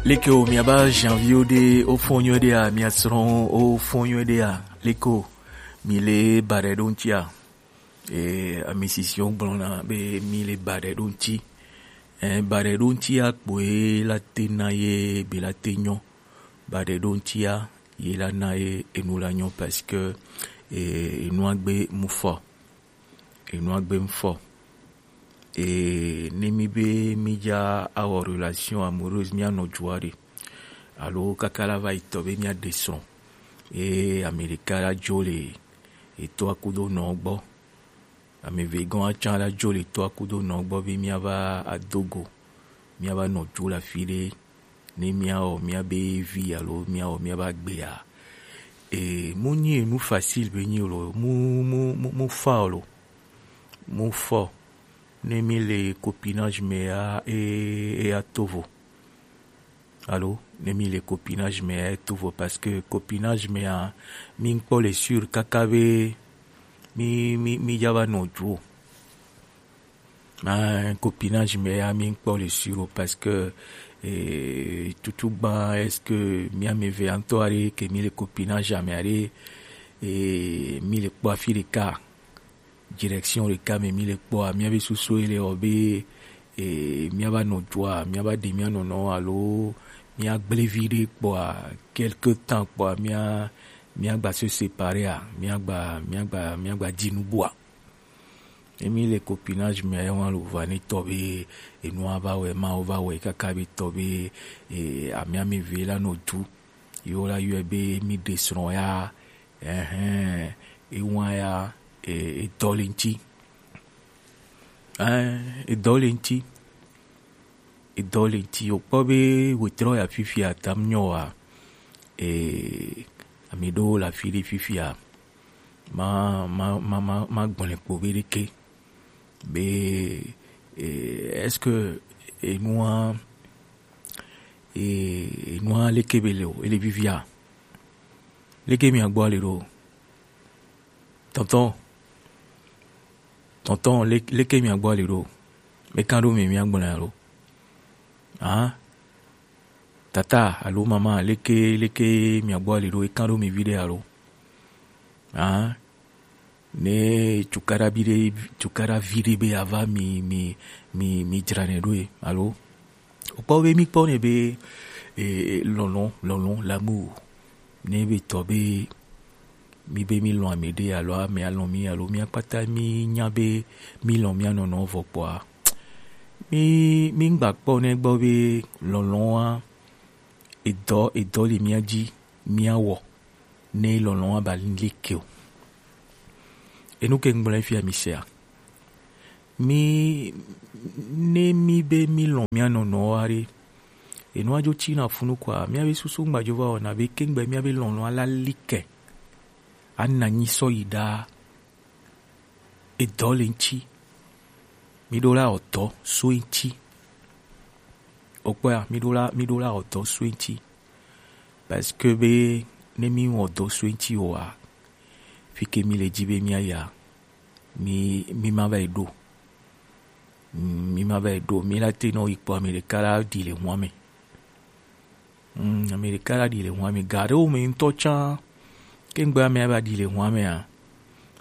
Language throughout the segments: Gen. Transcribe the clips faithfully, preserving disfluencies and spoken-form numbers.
Leke o miaba janvier o de o fɔnyɔ de a miasrɔn o fɔnyɔ de a leke o mi le ba ɖe ɖo ŋuti a? E, ame sisiwo gblɔna be mi le ba ɖe ɖo ŋuti. E, ba ɖe ɖo ŋuti a kpoe la te na ye be la te nyɔ. Ba ɖe ɖo ŋuti a ye la na ye enu la nyɔ parce que e, enua gbe mu fɔ. Enua gbe mu fɔ. E, ne mi be mi dza awɔ relation amoureuse mi anɔ dua ɖe. Alo kaka la va yi tɔ be mi aɖe srɔ̃. E, ame ɖeka la dzo le etɔa kudo nɔ gbɔ. Ame eve gɔn atsa la dzo le etɔa kudo nɔ gbɔ be mi ava ado go. Mi ava nɔ du le afi ɖe. Ne mi awɔ mi be vi alo mi awɔ mi be agbea. E, mu nyi enu facile be nyi lo, mu, mu, mu, mu fa lo. Mu fɔ. Ne mi le copinage me a, e, e a tovo. Alo, ne mi le copinage me a e tovo parce que copinage me a mi kpɔ le sûr kaka be mi, mi, mi dza va nɔ du o. Ah, copinage me ya mi kpɔ le sûr o parce que e, tutu gba est-ce que mi ame eve antɔ are ke mi le copinage ame are e, mi le kpɔ afi ɖeka direction ɖeka me mi le kpɔa miabe susu ele wɔ be e, miaba nɔ dua miaba ɖe mia nɔnɔ alo miagble vi ɖe kpɔa quelque temps kpɔa mia miagba se séparer a miagba miagba miagba di nubua. Emi le copinage me ya wan lo va ne tɔ be enua va wɛ ma va wɛ kaka be tɔ be e, ame ame ve la nɔ du yo la yɔ be mi ɖe srɔ̃ ya ɛhɛn ewan ya e, edɔ le ŋti. Ɛhɛn edɔ le ŋti. Edɔ le ŋti o kpɔ be wetrɔ ya fifia tam nyɔ wa e, ame ɖewo le afi ɖe fifia ma ma ma ma ma gblẽ kpo be ɖeke be e, est-ce que enua e, enua leke be le o ele vivia leke mi agbɔ le ɖo tɔntɔn tɔntɔn le- leke mi agbɔ le ɖo me kan ɖo mi mi agblẽ alo ah tata alo mama leke leke mi agbɔ le ɖo e kan ɖo mi vi ɖe alo ah ne cukaɖa vi ɖe cukaɖa vi ɖe be ava mi mi mi mi dzra ne ɖo e alo o kpɔ be mi kpɔ ne be e, lɔlɔ lɔlɔ l'amour ne be tɔ be mi be mi lɔn ame ɖe alo ame alɔn mi alo mi akpata mi nya be mi lɔn mia nɔnɔ vɔ kpɔa mi mi ŋgba kpɔ ne gbɔ be lɔlɔ wa edɔ edɔ le mia dzi mia wɔ ne lɔlɔ wa ba leke o. Enu ke ŋgblɔ fia mi sea mi ne mi be mi lɔn mia nɔnɔ wa ɖe enua dzo tsi na funu kɔa mia be susu ŋgba dzo va wɔna be kengbe mia be lɔlɔ ala like ana nyi sɔ yi ɖaa. Edɔ le ŋti mi ɖo la ɔdɔ so ŋti o kpɔa mi ɖo la mi ɖo la ɔdɔ so ŋti parce que be ne mi wɔ dɔ so ŋti o wa fi ke mi le dzi be mi aya mi mi ma va yi ɖo mi ma va yi ɖo mi la te nɔ yi kpɔ ame ɖeka la ɖi le hua me. Mm, ame ɖeka la ɖi le hua me ga ɖewo me ŋutɔ tsã. Ke ŋgbe ame ava ɖi le hua mea,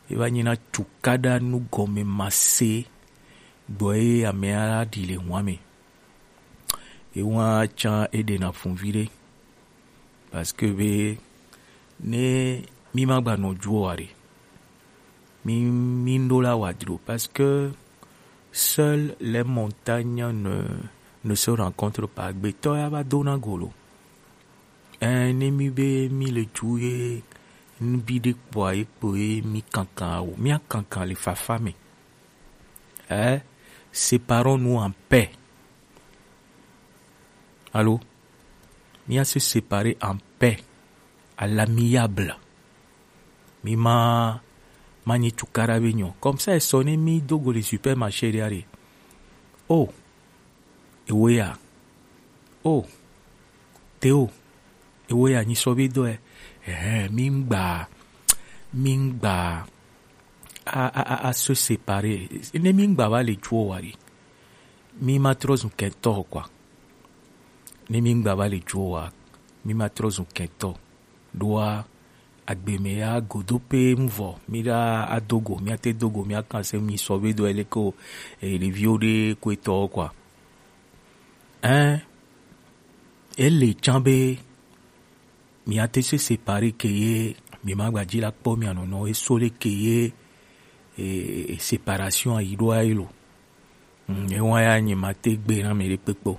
eva nyina cukaɖa nugɔme mase gbɔ ye amea la ɖi le hua me. Ewa tsã eɖena fun viɖe. Parce que be ne mi ma gba nɔ juɔ wa ɖe. Mi mi ŋɖo la wa dro parce que seules les montagnes ne ne se rencontrent pas. Gbetɔ ya va dona golo. Ɛɛ ne mi be mi le ju ye nubi ɖe kpɔa ye kpo ye mi kankan awo. Mi akankan le fafa me. Ɛɛ séparons-nous en paix. Allô? Mi a se séparer en paix, à l'amiable. Mi ma ma nyi cukaɖa be nyɔ. Comme ça e sɔ ne mi do go le supermarché ɖe are. Oh, ewo ya. Oh, Théo, ewo ya nyi sɔ be dɔ ɛ. Ɛhɛn, mi ŋgba mi ŋgba a a a a se séparer. Ne mi ŋgba va le juɔ wa ɖe. Mi ma trɔ zu kɛntɔ quoi. Ne mi ŋgba va le juo wa, mi ma trɔ zun kɛntɔ. Ɖoa, agbe mɛ ya godo pe ŋvɔ, mi ɖa adogo, mi ate dogo, mi akan se mi sɔ be do ele ko, e, ɖeviwo ɖe ko etɔ quoi. Hein? Ele can be mi ate se séparer ke ye, mi ma gba ji la kpɔ mi anɔnɔ eso le ke ye, e, e, séparation ayi ɖo ayi lo. Mm, ewa ya nye ma te gbe na mi ɖe kpekpe o.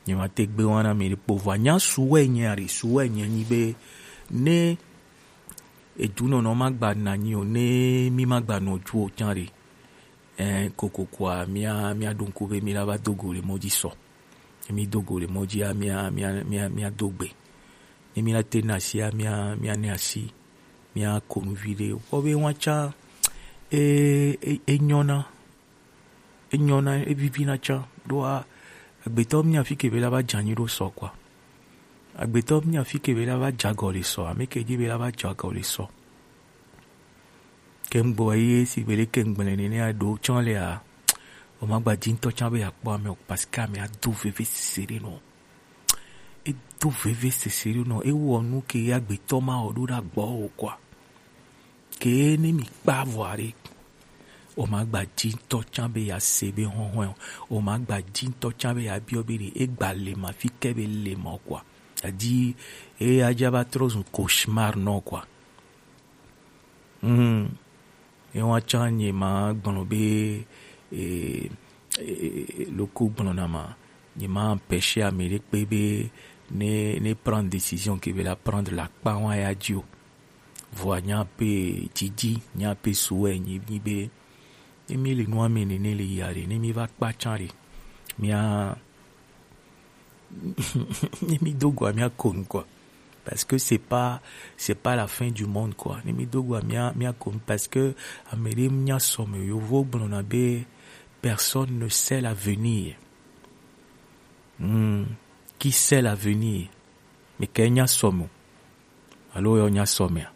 Nye ma te gbe wa na mi ɖe kpekpe o. Vɔ nya suwɛ nye ari suwɛ nye nyi be ne edu nɔnɔ ma gba na nyi o, ne mi ma gba nɔ ju o can ɖe. Eh, kokoko a, mia, mia ɖo ŋku be mi la va do go le mɔ ji sɔ. Ne mi do go le mɔ ji a, mia, mia, mia, mia do gbe. Ne mi la te na asi a, mia, mia ne asi, mia ko nu vi ɖe. Kpɔ be wa can, e, e, e nyɔna, e nyɔna, e vivina can. Ɖoa, agbetɔ mi nya fi ke be la va janyi ɖo sɔ quoi. Agbetɔ mi nya fi ke be la va jagɔ le sɔ, ame ke ji be la va jagɔ le sɔ. Ke ŋgbɔ ye si be le ke ŋgble nene a ɖo tsɔ le a. O ma gba ji ŋtɔ tsã be ya kpɔ ame o, parce que ame a do veve sese ɖe nɔ. E do veve sese ɖe nɔ. E wɔ nu ke ya gbetɔ ma o ɖo ɖa gbɔ o quoi. Ke ne mi kpa vɔ a ɖe. O ma gba ji ŋtɔ tsã be ya se be hɔhɔe o. O ma gba ji ŋtɔ tsã be ya biɔ be ɖe e gba le ma fi ke be le ma o quoi. Adi e ya ja va trɔ zun cauchemar nɔ quoi. Hmm. Ewa tsã nye ma gblɔ be, e, e, e, loko gblɔna ma, nye ma empêcher ame ɖe kpe be ne, ne prendre décision ke be la prendre la kpa wa ya ji o. Vɔa nya pe didi, nya pe suwɛ nyi, nyi be, ne mi le nua me nene le ya ɖe, ne mi va kpa tsã ɖe, mia, ne mi do go a mia ko nu quoi. Parce que c'est pas, c'est pas la fin du monde quoi. Ne mi do go a mia, mia ko nu parce que ame ɖe mia sɔ me yovo gblɔna be personne ne sait l'avenir. Hmm. Qui sait l'avenir? Mais ke nya sɔ me o. Alo yɔ nya sɔ mea?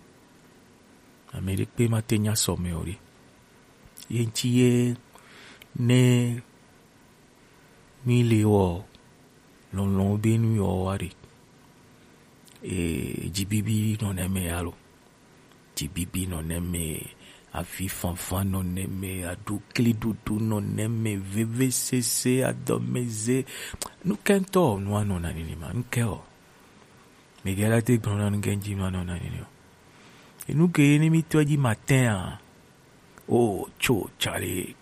Ame ɖe kpe ma te nya sɔ me o ɖe. Ye ŋti ye ne mi le wɔ lɔlɔ̃ be nu yɔ wa ɖe. E, dzibibi nɔ ne me alo. Dzibibi nɔ ne me, avi fanfan nɔ ne me, aɖukli ɖuɖu nɔ ne me, veve sese, adɔmeze. Nu kɛntɔ nua nɔ na nini ma, nu kɛ o. Miguel ate gblɔ na nu kɛ ŋti nua nɔ na nini o. Enu ke ne mi tɔ dzi matin a. O, tso, tsale.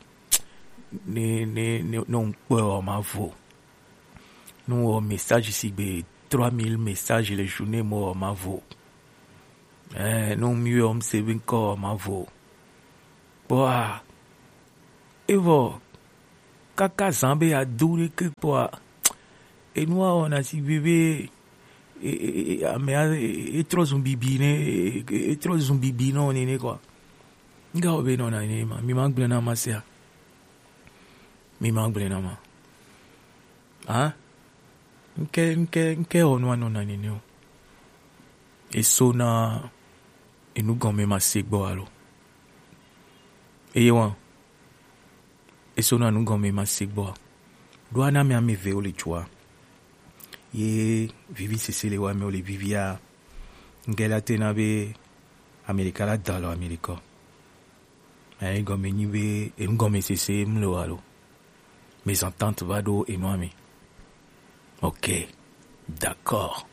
Ne, ne, ne, ne ŋkpɔe o ma vo. Nu wɔ message si gbe trois mille messages le journée mo wɔ ma vo. Eh, nu mi wɔ mi se be ŋkɔ wɔ ma vo. Kpɔa, evɔ, kaka zan be adu ɖe ke kpɔa, enua wɔna si gbe be, e, e, e, amea, e, e, etrɔ zun bibi ne, e, e, etrɔ zun bibi nɔ nene quoi. Nga wɔ be nɔ na nene ma, mi ma gblẽ na ma sea. Mi ma gblẽ na ma. Hein? Ŋkɛ, ŋkɛ, ŋkɛ wɔ nua nɔ na nene o. Eso na enu gɔme ma se gbɔ alo. Eye wa. Eso na nu gɔme ma se gbɔ. Ɖo ana mi ame eve wo le jua. Ye vivi sese le wa me wo le vivia. Ŋkɛ la te na be Amerika la da lɔ Amerika. Enu gɔme nyi be, enu gɔme sese mle wa lo. Mésentente va ɖo enua me. Ok. D'accord.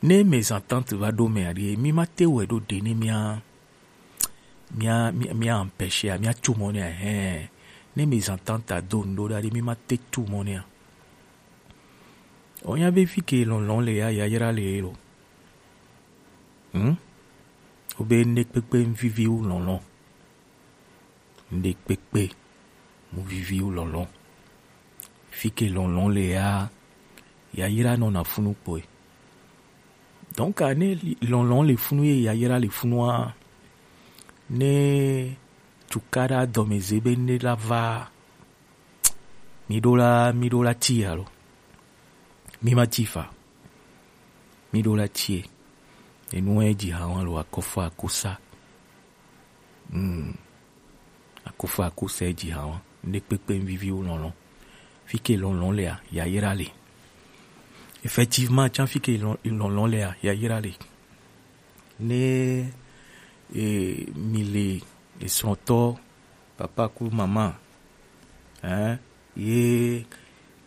Ne mésentente va ɖo me aɖe, mi ma te wɛ ɖo ɖe ne mia, mia, mia, mia empêcher, mia tu mɔ ne, hɛn. Ne mésentente a do ŋɖo ɖa ɖe, mi ma te tu mɔ ne. O nya be fi ke lɔlɔ̃ le ya, yayra le lo. Hmm? O be ne kpekpe vivi wu lɔlɔ̃. Ŋɖe kpekpe mu vivi wu lɔlɔ̃. Fi ke lɔlɔ̃ le ya, yayra nɔna funu kpɔe. Donc, ne li-, lɔlɔ̃ le funu ye yayra le funua, ne tukaɖa dɔmeze be ne la va, mi ɖo la, mi ɖo la ti alo. Mi ma ti fa. Mi ɖo la tie. Enu e ji ha wa lo akɔfa akosa. Hmm. Akɔfa akosa e ji ha wa. Ne kpekpe vivi wu lɔlɔ̃. Fi ke lɔlɔ̃ le a, yayra le. Effectivement, tsanfi ke lɔn- lɔnlɔn lea, yayra le. Ne e, mi le esrɔ̃tɔ, papa ku mama, hein, ye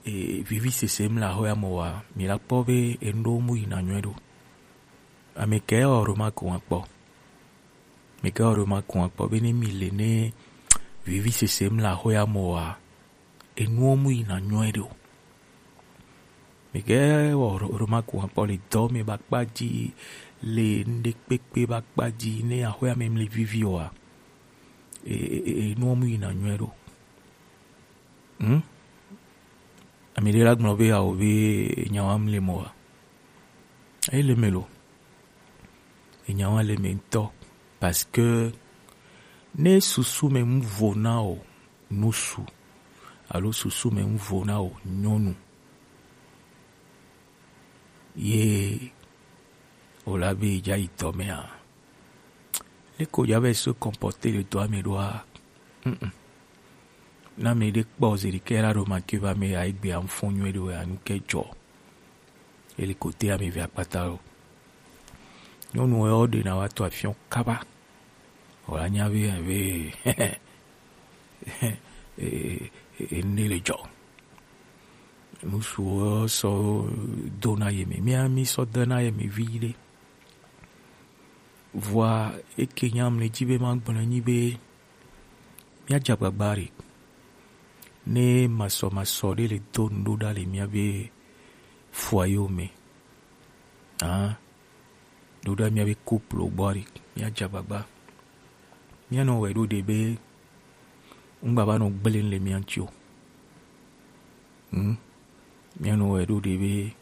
e, vivi sese mla hoya mo wa, mi la kpɔ be enu ɖo mu yina nyuie ɖo. Ame ke wɔ remarque wa kpɔ. Mi ke wɔ remarque wa kpɔ be ne mi le ne vivi sese mla hoya mo wa, enuwo mu yina nyuie ɖo. Mi ke wɔ ro- remarque wa kpɔ le dɔ me ba kpa ji, le ŋɖe kpekpe ba kpa ji, ne ahoya me mli vivi wa, e, e, e, enuwo mu yina nyuie ɖo. Hmm? Ami ɖe la gblɔ be awo be nyawa mle mo wa. Ele me lo. Enyawa le me ŋutɔ. Parce que ne susu me ŋu vo na o nusu, alo susu me ŋu vo na o nyɔnu, ye o la be dza yi dɔ mea, leke o dza be se comporter le dɔa me ɖoa? Mm-mm. Na me ɖe kpɔ zi ɖi ke la ɖo ma ke va me ya egbe am fo nyuie ɖo ya nu ke dzɔ. Eli kote ame ve akpata lo. Nyɔnu wo ɖe na wa to afiɔn kaba. O la nya be, be, e, e, e, ne le dzɔ. Nusu wo sɔ do na ye me. Mi, mi sɔ de na ye me vi ɖe. Vɔa, eke nya mle dzi be ma gblɔ nyi be, mía dze agbagba ɖe. Ne masɔmasɔ ɖe le do nu ɖo ɖa le mía be foyer me, ah, ɖo ɖa mía be couple gbɔ ɖe, mía dze agbagba. Mía nɔ wɛ ɖo ɖe be, ŋgba va nɔ gblẽ le mía ŋuti o. Hmm? Mía nɔ wɛ ɖo ɖe be,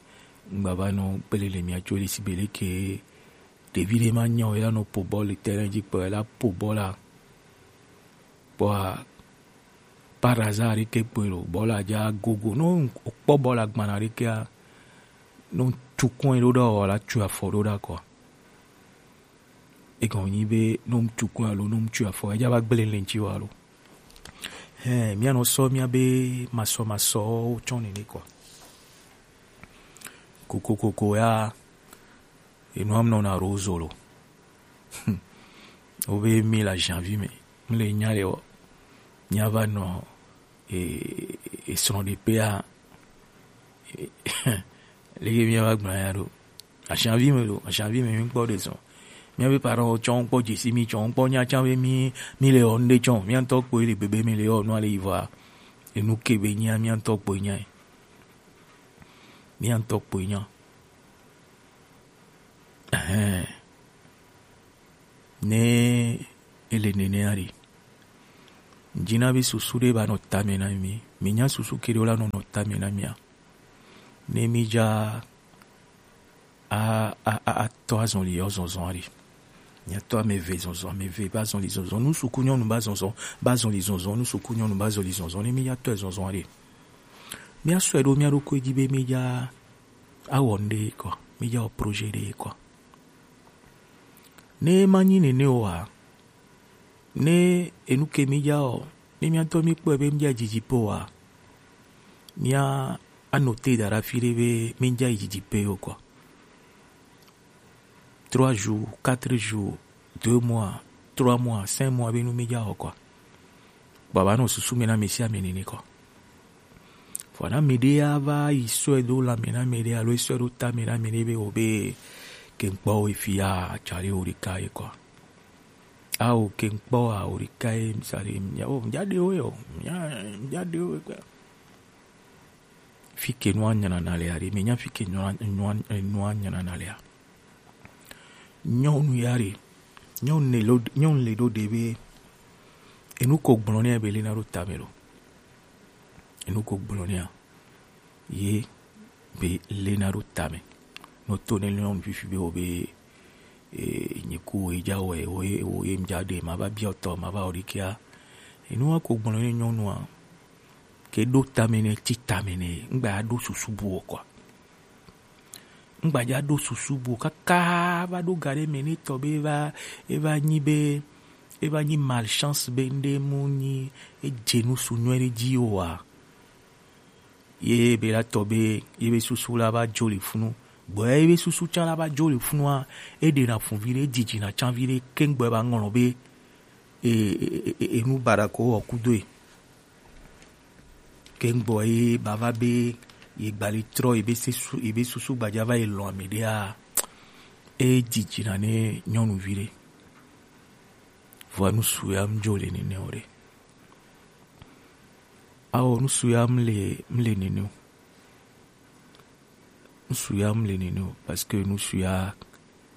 ŋgba va nɔ gblẽ le mía ŋuti o, le si be leke ɖevi ɖe ma nya o, ela nɔ po bɔl le terrain dzi kpɔ, ela po bɔl la. Kpɔa, par hasard ɖeke kpɔe lo, bɔl la dza gogo. No kpɔ bɔl la gbana ɖekea, no tukun ɖo ɖa o, la tu afɔ ɖo ɖa kɔ. Egɔme nyi be no tukun alo no tu afɔ, edza va gblẽ le ŋuti wa lo. Hɛn, mía nɔ sɔ mía be masɔmasɔwo tsɔ nene kɔ. Kokokoko ya, enu am nɔ na rozo lo. Wo be mi la janvier me, mi le nya le o. Mía va nɔ e, e srɔ̃ɖeƒea, e, leke mía va gblɔ ya ɖo? Asanvi me lo, asanvi me mi kpɔ ɖe zɔn. Mía be parents tsɔ kpɔ dzesi mi tsɔ kpɔ nya tsã be mi, mi le ɔ ŋɖe tsɔ. Mía ŋutɔ kpɔe le bebe mi le ɔ nua le yi vɔa. Enu ke be nya, mía ŋutɔ kpɔe nya. Mía ŋutɔ kpɔe nya. Ɛhɛn. Ne ele nenea ɖe, dzi na be susu ɖe ba nɔ tame na mi. Mi nya susu ke ɖe la nɔ nɔ tame na mia. Ne mi dza a, a, a, a tɔ azɔli yɔ zɔzɔ ɖe. Mia tɔ ame eve zɔzɔ, ame eve ba zɔli zɔzɔ. Nu suku nyɔnu ba zɔzɔ, ba zɔli zɔzɔ. Nu suku nyɔnu ba zɔli zɔzɔ. Ne mi dza tɔ zɔzɔ ɖe, mia sɔe ɖo mia ɖokui dzi be mi dza awɔ ŋɖe kɔ, mi dza wɔ projet ɖe kɔ. Ne ma nyi nene oa, ne enu ke mi dza o, ne mia ŋutɔ mi kpɔe be mi dza yi didi pe oa, mia anote da ɖe afi ɖe be mi dza yi didi pe o kɔ. Trois jours, quatre jours, deux mois, trois mois, cinq mois be nu mi dza o kɔ. Baba nɔ susu me na me sia me nene kɔ. Vɔ na me ɖe ya va yi sɔe do la me na me ɖe alo sɔe do ta me na me ɖe be o be ke ŋkpɔ o fi ya tsari o ɖeka ye kɔ. A o ke ŋkpɔ a o ɖeka ye mi sa ɖe mi o mi dza ɖe o yo mi dza ɖe o kɔ. Fi ke nua nyana na le ya ɖe me nya fi ke nua nua nua nyana na le ya. Nyɔnu ya ɖe, nyɔnu le lo, nyɔnu le ɖo ɖe be enu ko gblɔ nɛ be le na ɖo tame lo. Enu ko gblɔ nɛ ye be le na ɖo tame. No to ne nyɔnu fifi be o be e, nyi ku o dza wɛ o ye o ye mdza ɖe ma va biɔ tɔ ma va o ɖi kia. Enu wa ko gblɔ nɛ nyɔnua ke ɖo tame nɛ ti tame nɛ ŋgba ya ɖo susu bu o kɔ. Ŋgbadza ɖo susu bu kaka va ɖo ga ɖe me ne tɔ be eva eva nyi be eva nyi malchance be ŋɖe mu nyi edze nu su nyuie ɖe dzi oa. Ye be la tɔ be ye be susu la va jo le funu. Gbɔ ye be susu can la va jo le funua, e ɖe na fun vi ɖe, e jiji na can vi ɖe, kengbe ba ŋlɔ be e, e, e, e, enu baɖa ko wɔ kudo e. Kengbe ye ba va be ye gbali trɔ ye be se su, ye be susu gbaja va yi lɔn ame ɖe a, e jiji na ne nyɔnuvi ɖe. Vɔa nusu ya mu jo le nene o ɖe. Ao, nusu ya mu le, mu le nene o. Nusu ya mu le nene o, parce que nusu ya,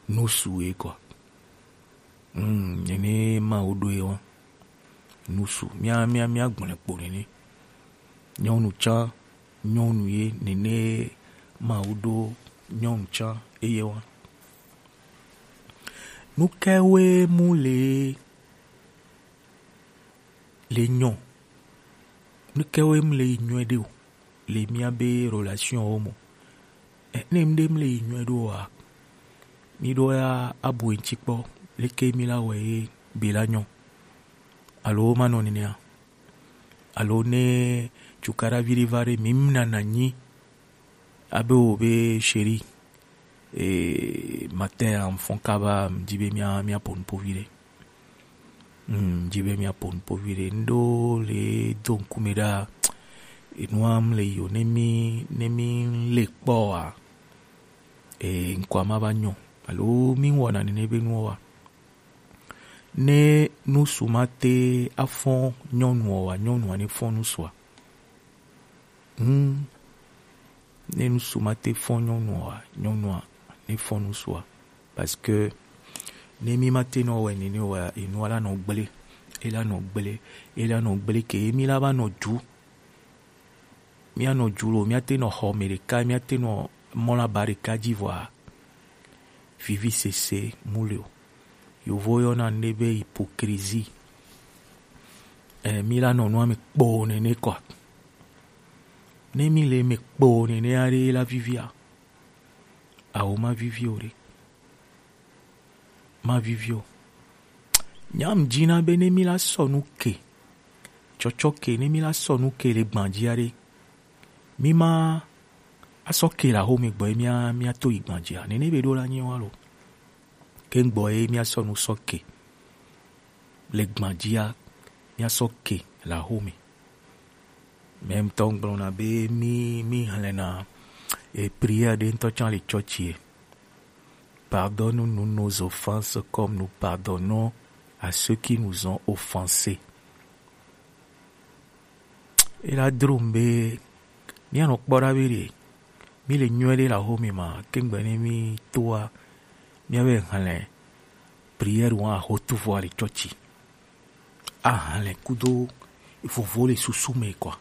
nusu ye quoi. Hmm, nene ma wo ɖo ye wa. Nusu, mia, mia, mia gblɔe kpo nene. Nyɔnu can, nyɔnu ye, nene ma wo ɖo nyɔnu can eye wa. Nuke we mu le le nyɔ. Nuke we mu le yi nyɔe ɖe o le mia be relation wo mo? Eh, ne mu ɖe mu le yi nyɔe ɖo wa, mi ɖo ya abu eŋti kpɔ, leke mi la wɔ ye be la nyɔ? Alo ma nɔ nenea? Alo ne cukaɖa vi ɖe va ɖe, mi mu nana nyi abe wo be chéri, eh, matin a, mfɔn kaba, mdi be mia, mia pon povi ɖe. Hmm, mdi be mia pon povi ɖe. Ndo le do ŋkume ɖa, enua mu le yo, ne mi, ne mi le kpɔ wa, eh, ŋkɔ ma va nyɔ. Alo mi wɔna nene be nuwa. Ne nusu ma te afɔn nyɔnu wa, nyɔnua ne fɔn nusua. Hmm. Ne nusu ma te fɔn nyɔnua, nyɔnua ne fɔn nusua. Parce que ne mi ma te nɔ wɛ nene wa, enua la nɔ gble, e la nɔ gble, e la nɔ gble ke, mi la va nɔ du. Mia nɔ du lo, mia te nɔ xɔ me ɖeka, mia te nɔ mɔ la ba ɖeka ji vɔa, vivi sese mu le o. Yovo yɔna nu ɖe be hypocrisie. Eh, mi la nɔ nua me kpoo nene kɔa. Ne mi le me kpoo nene aɖe la vivia, awo ma vivi o ɖe. Ma vivi o. Nyam dzi na be ne mi la sɔ nu ke, tsɔtsɔ ke, ne mi la sɔ nu ke le gbandzia ɖe, mi ma asɔ ke la xo mi gbɔ ye mia, mia to yi gbandzia. Nene be ɖo la nyi wa lo. Ke gbɔ ye mia sɔ nu sɔ ke le gbandzia, mia sɔ ke la xo mi. Mɛ ŋutɔ gblɔna be mi, mi hlɛna, e, prière ɖe ŋutɔ tsã le tsɔtsi e. Pardonne-nous nos offenses comme nous pardonnons à ceux qui nous ont offensés. Ela dro ŋu be míanɔ kpɔ ɖa be ɖe mi le nyuie ɖe le axome ma, kengbe ne mi toa, míabe hlɛ prière wa axotuvɔa le tsɔtsi. Ahlɛ kudo vovo le susu me kɔa.